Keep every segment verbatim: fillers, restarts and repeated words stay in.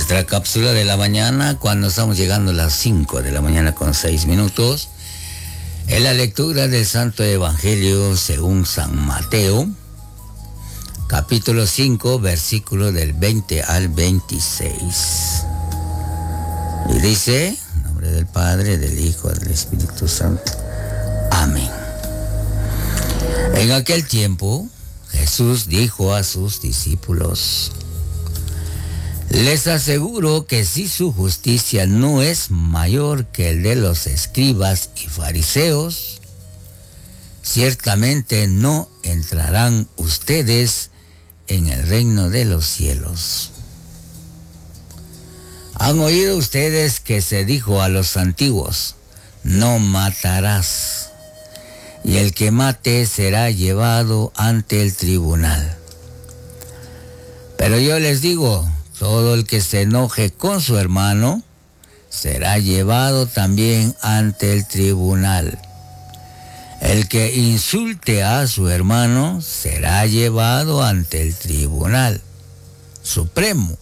Nuestra cápsula de la mañana, cuando estamos llegando a las cinco de la mañana con seis minutos, es la lectura del Santo Evangelio según San Mateo, capítulo cinco, versículo del veinte al veintiséis. Y dice, en nombre del Padre, del Hijo, del Espíritu Santo. Amén. En aquel tiempo, Jesús dijo a sus discípulos: les aseguro que si su justicia no es mayor que el de los escribas y fariseos, ciertamente no entrarán ustedes en el reino de los cielos. Han oído ustedes que se dijo a los antiguos: no matarás, y el que mate será llevado ante el tribunal. Pero yo les digo, todo el que se enoje con su hermano será llevado también ante el tribunal. El que insulte a su hermano será llevado ante el tribunal supremo,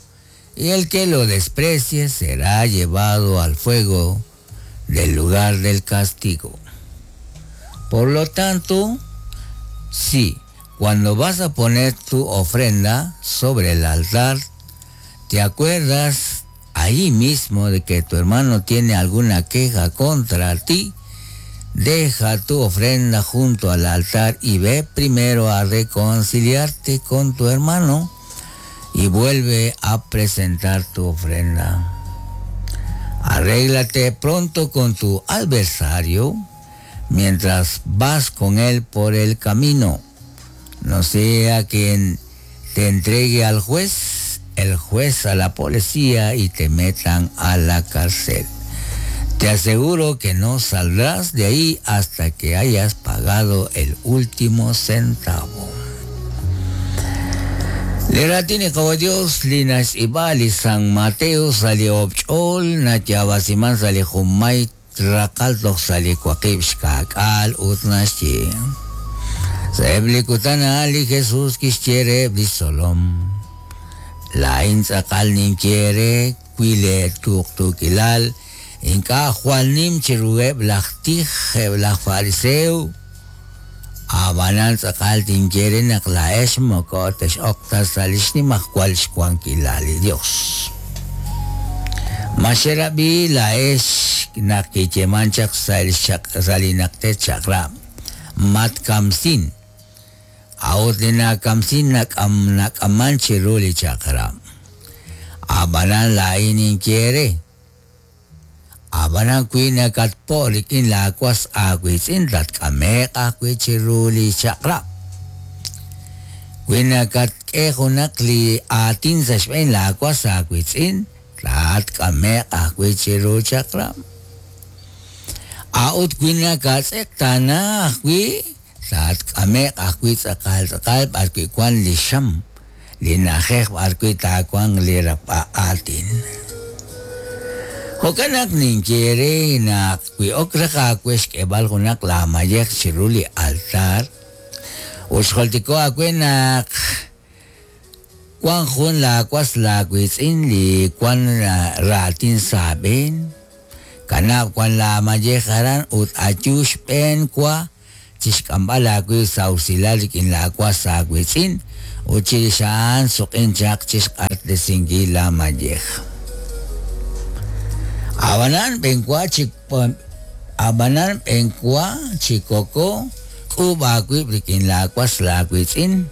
y el que lo desprecie será llevado al fuego del lugar del castigo. Por lo tanto, si cuando vas a poner tu ofrenda sobre el altar, te acuerdas ahí mismo de que tu hermano tiene alguna queja contra ti, deja tu ofrenda junto al altar y ve primero a reconciliarte con tu hermano y vuelve a presentar tu ofrenda. Arréglate pronto con tu adversario mientras vas con él por el camino, no sea quien te entregue al juez, el juez a la policía y te metan a la cárcel. Te aseguro que no saldrás de ahí hasta que hayas pagado el último centavo. Leratini como Dios, Linas Ibali, San Mateo, sali Obchol, Natyabasiman, sali Jumay, Rakaltok, sali Kwakib, Shkakal, Utnashi. Seblikutana Ali Jesús Kishere, Blisolom. Lain tz'aqal ninquiere, cuile tuktukilal, inka juanim chirueb laj tij, laj fariseo, abanan tz'aqal tinquiere naq laex moko tex okta salix nimajkual xkuankilal Dios. Maxerabi laex naq kicheman chaq salinaqte chaqrab, mat kamsin. Aot na kamsin nakam nakaman chiruli chakra. Abanan lainin quiere. Abanan kui nakatpolik in lakwas akwits in tat kamek akwi chiruli chakra. Kui nakatkejo nakli atin sa shben lakwas akwits in tat kamek akwi chiru chakra. Aot kui nakatsektana akwi Tat kamek akwi tz'aqal tz'aqal b'arwi kwan li xam li najej b'arwi takuan li rap'a'atin. Jo'kan ninquiere naq wi ok raj awe xk'eb'al junaq la mayej chiru li altar uxjoltiko awe naq kwan jun la kwas la witz'in li kwan ratin sab'en kanab kwan la mayej aran ut ayu xb'en kwa chixk'amb'al awi sawsilal rik'in la kwas awitz'in uchirixan suq'in chaq chixq'artesinkil la mayej. Abanan b'enkwa chik abanan b'enkwa chikoko k'ub awi rik'in la kwas la witz'in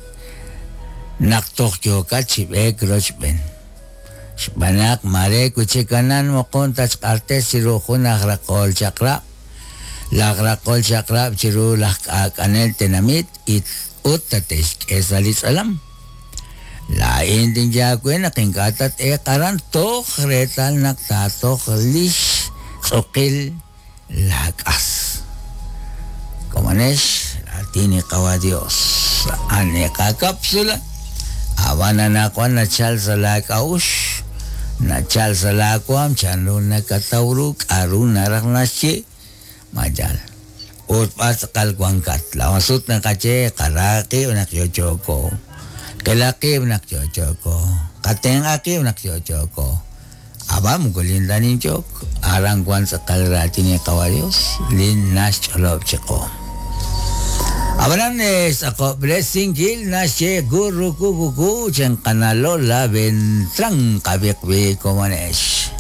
naq toj yokat chib'ek rochb'en. Xb'anaq mare kuchikanan moqon tachq'artes chiru jun aj raqol chaqrab laj raqol chaqrab chiru laj k'ak'anel tenamit it ut tatexk'e sa li tz'alam. Lain tinyawe naq ink'a' tat-eqaran toj reetal naq taatoj lix tz'uqil lak'as. Komonex latini qawa Dios ane qakapsula abana naqwan nachal sa lak'awux nachal sa lakwam chanru nakatawru k'aru naraj naxye mayal. Ut pasqal wankat la masut nakache qaraqi nak yochoko kelaqi nak yochoko qatenqaqi nak yochoko Ab'an moko lindanin chok aran wan tz'aqal raatin li Qawa' Dios lin naxch'olob' chiqu. Ab'anan xtz'aqob'resinkil naxye gurru kukuku chenqana Lola Beltrán qabiqbi komonex.